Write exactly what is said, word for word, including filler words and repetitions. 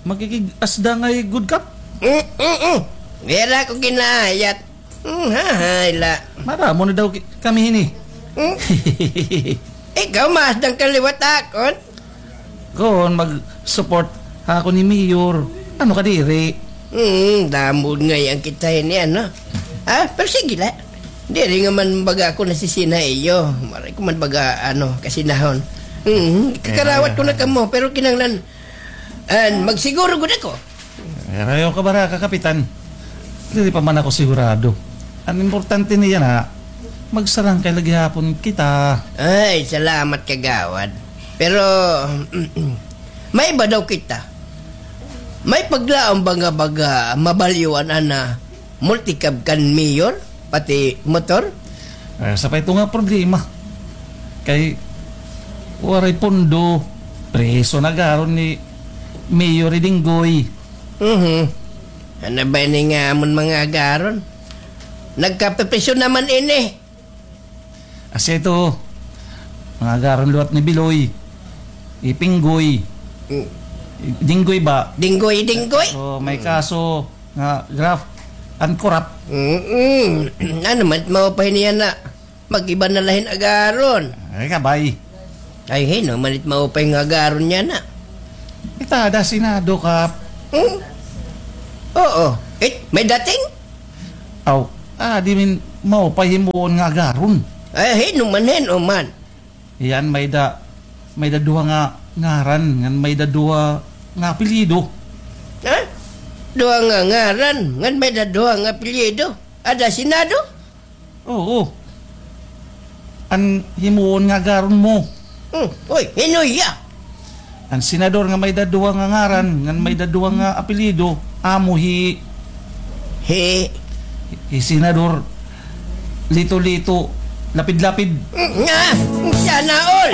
Makikig-asda ngay gud, Kap? Mm, mm, mm. Diri ako ginaayat. Mm, hahay la. Maramo na daw ki-, kami hini. Mm. Ikaw, maasda ka liwat akon. Kon mag-support ha akon ni Mayor, ano ka diri? Mm, damod ngay-an kita hini, ano? Ah, pero sige la. Diri nga man baga ako nasisina ha iyo. Waray ko man baga, ano, kasinahon. Mm, kakarawat ko na kamo, pero kinahanglan An magsiguro gud ako. Ayaw ka baraka, Kapitan. Diri pa man ako sigurado. An importante niyan na, magsarangkay la gihapon kita. Ay, salamat, Kagawad. Pero, may iba daw kita. May paglaom ba nga baga mabalyoan ana multicab kan mayor, pati motor? Eh, sa pa ito nga problema. Kay, waray pondo, preso na gad ni Mayor Dinggoy. Mhm. Ano ba ini nga amon mga agaron? Nagkapepresyo naman ini. Asya ito, mga agaron liwat ni Biloy, Ipinggoy, Mm. Dinggoy ba? Dinggoy, Dinggoy? Oh, may kaso nga graft and corrupt. Mm-mm. Ano man, maupay niya na. Mag-iba na la hin agaron. Ay, kabay. Ay, hin-o man it maupay nga agaron niya na. Kita ada Senado, Kap. Hmm? Oo. It, may dating? Aw, ah, di man maupay himuon nga agaron. Ay, hin-o man, hin-o man. Iyan, may da, may da duha nga ngaran, ngan may da duha nga apelyido. Ha? Duha nga ngaran, ngan may da duha nga apelyido. Ada Senado? Oo. An himuon nga agaron mo. Hmm. Uy, hin-o hiya? An senador nga may da duha nga ngaran, ngan may da duha nga apelyido, amo hi Hi. Hi Senador Lito-Lito, Lapid-Lapid. Nga, sana all.